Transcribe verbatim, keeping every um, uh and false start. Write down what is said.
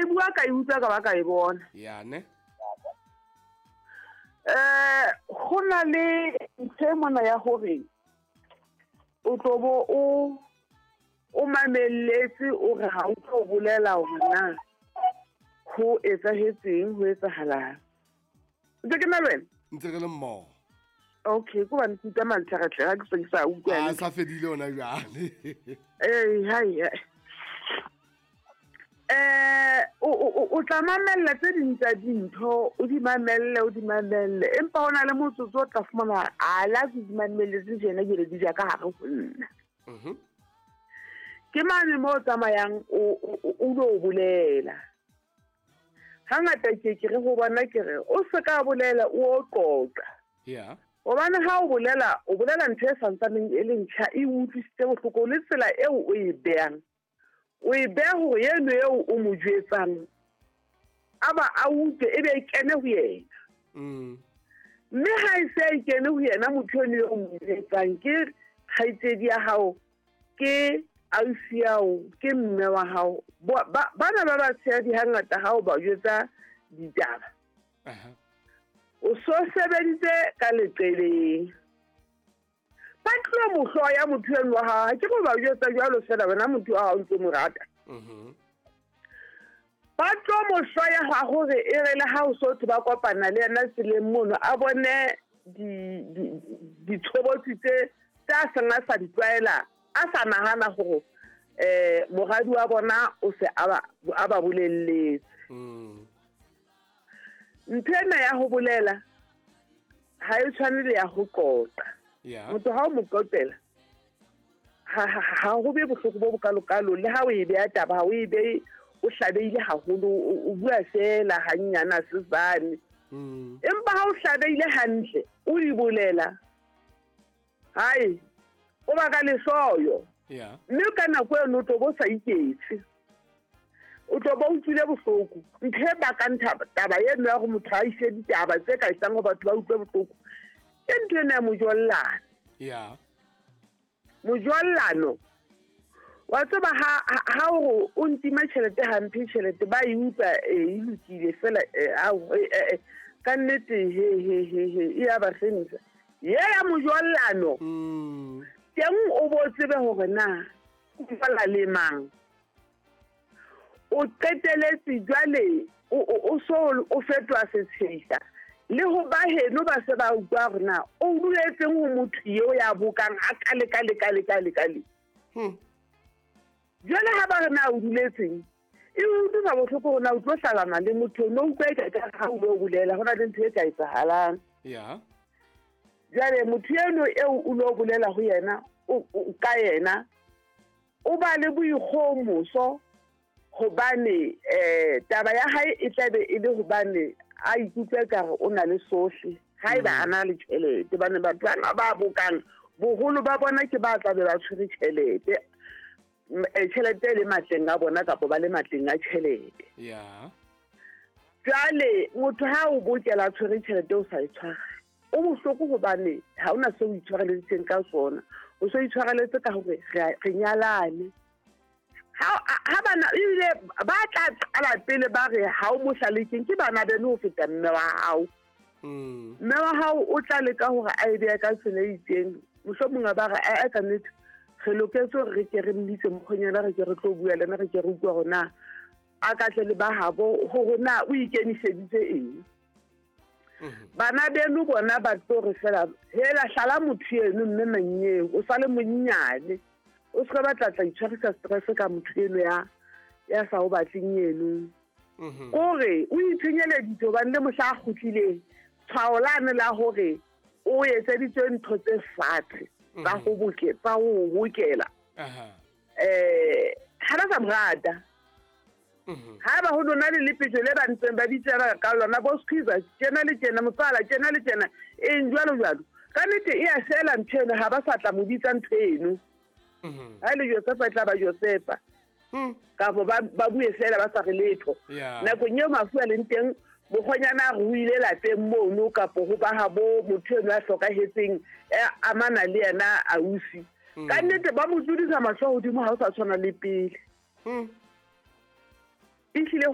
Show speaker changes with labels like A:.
A: e bua ka e utlwa ka ba ka e bona.
B: Ya ne.
A: Eh go na le ntho e mona ya hore o tlo bo o o mamelletse o re ha o tlo bolela hore na ho etsahetseng, ho etsahalang. Ntse ke na le wena?
B: Ntse re le mmoho.
A: Okay, ko bane ke utlwa mantlhatlha ha ke se ke sa utlwa.
B: A sa fedile ona jwale.
A: Eh, hai. Eh, o o o tla mamella tse ding tsa dintho, o di mamelle, o di mamelle. Empa hona le motsotso o tla fumana a la ke di mamelletse tjena ke le di ja ka hare ho nna.
B: Mhm.
A: Ke mane mo tsamayang o o lo bolela. Hangata ke ke re ho bona ke re o se ka bolela o qoqa.
B: Yeah.
A: Hobane ha o bolela, o bolela ntho e santsaneng e le ntjha e utlwisitse bohloko le tsela eo o e behang. O e beha hore eno eo o mo jwetsang a ba a utlwe e be e kene ho yena.
B: Mm.
A: Mme ha e se e kene ho yena motho eno eo o mo jwetsang ke kgaitsedi ya hao, ke ausi ya hao, ke mme wa hao. Bana ba batshehadi hangata ha o ba jwetsa ditaba.
B: Aha.
A: O so sebeditse ka leqeleng. Ba tlo mo hloya motho eno wa hao, ha ke go ba jwetsa jwalo fela wena motho wa hao o ntse mo rata.
B: Mhm.
A: Ba tlo mo hloya ha hore e re le ha o so ba kopana le yena tseleng mono a bone di ditshobotsi tse tsa seng a sa di tlwaela, a sa nahana hore eh moradi wa bona o se a ba a ba bolelletse.
B: Mm.
A: Ntho ena ya ho bolela ha e tshwane le ya ho qoqa.
B: Yeah.
A: Motho ha o mo qoqela ha ha ho be bohloko bo bokalokalo le ha o e beha taba ha o e behe o hlabeile haholo o bua fela hanyana sesane.
B: Mm.
A: Empa ha o hlabeile hantle o di bolela hai o ba ka lehloyo.
B: Yeah.
A: Mme ka nako eno o tlo bo sa iketse. O tlo bo utlwile bohloko. Ntho e bakang taba eno ya hore motho a ise ditaba tse ka etsang hore batho ba utlwe bohloko ke ntho ena ya mojollano.
B: Yeah.
A: Mojollano. Wa tseba ha ha o o ntima tjhelete hampe tjhelete ba e utlwa e lokile fela ka nnete he he he he e ya ba hlomisa. Ye ya mojollano.
B: Mm.
A: Teng o bo tsebe hore na o bala le mang. O qeteletse jwale o so o fetoha setshehisa. Le ho ba heno ba se ba utlwa hore na o duletseng ho motho eo ya bokang a kale kale kale kale kale.
B: Hmm.
A: Jwale ha ba re na o duletseng e utlwisa bohloko hore na o tlo hlalana le motho no utlwa e ka ha o lo bolela hona le ntho e ka etsahalang.
B: Yeah.
A: Jwale motho eno eo o lo bolela ho yena o ka yena o ba le boikgomoso hobane eh taba ya hae e tlabe e le hobane a ikutlwe ka re o na le sohle ha eba a na le tjhelete bane batho bana ba bokang boholo ba bona ke ba tlabe ba tshwere tjhelete tjhelete le matleng a bona kapa ba le matleng a tjhelete.
B: Yeah.
A: Jwale motho ha o bokela tshwere tjhelete o sa e tshwara o bohloko hobane ha ona se o itshwareletseng ka sona, o so itshwareletse ka hore re nyalane. Ha ha bana ile ba tla qala pele ba re ha o mohlalekeng ke bana beno ho feta mme wa hao.
B: Mm.
A: Mme wa hao o tla leka hore a e behe ka tsela e itseng, mohlomong ba re a ka nnete re loketse hore re ke re mmitse mokgonyana re ke re tlo bua le ena re ke re utlwa hore na a ka tle le ba habo hore na o ikemiseditse eng. Bana beno bona ba tlo re fela hela hlala motho eno mme manyeo o sale monnyane o se ba tla tla itshwarisa stress ka motho eno ya ya sa o batleng eno. Kore o itshenyeleditse hobane le mohla a kgutlileng tshwao lane la hore o etseditswe ntho tse fatshe tsa ho boke tsa ho bokela.
B: Aha.
A: Eh ha ba sa mo rata.
B: Mhm.
A: Ha ba ho nona le lepetjo le ba ntseng ba bitsela ka lona bo squeezer tjena le tjena motswala tjena le tjena eng jwalo jwalo. Ka nnete e a fela ntho eno ha ba sa tla mo bitsa ntho eno.
B: Mhm.
A: Ha le Josefa e tla ba Josefa.
B: Mm.
A: Kapa ba ba bue fela ba sa re letho.
B: Yeah.
A: Nakong eo mafu a leng teng mokgonyana a ruile lapeng mono kapa ho ba habo motho eno a hlokahetseng amana le yena ausi. Ka nnete ba mo tlodisa mahlo hodimo ha o sa tshwana le pele.
B: Mm.
A: Ehlile ho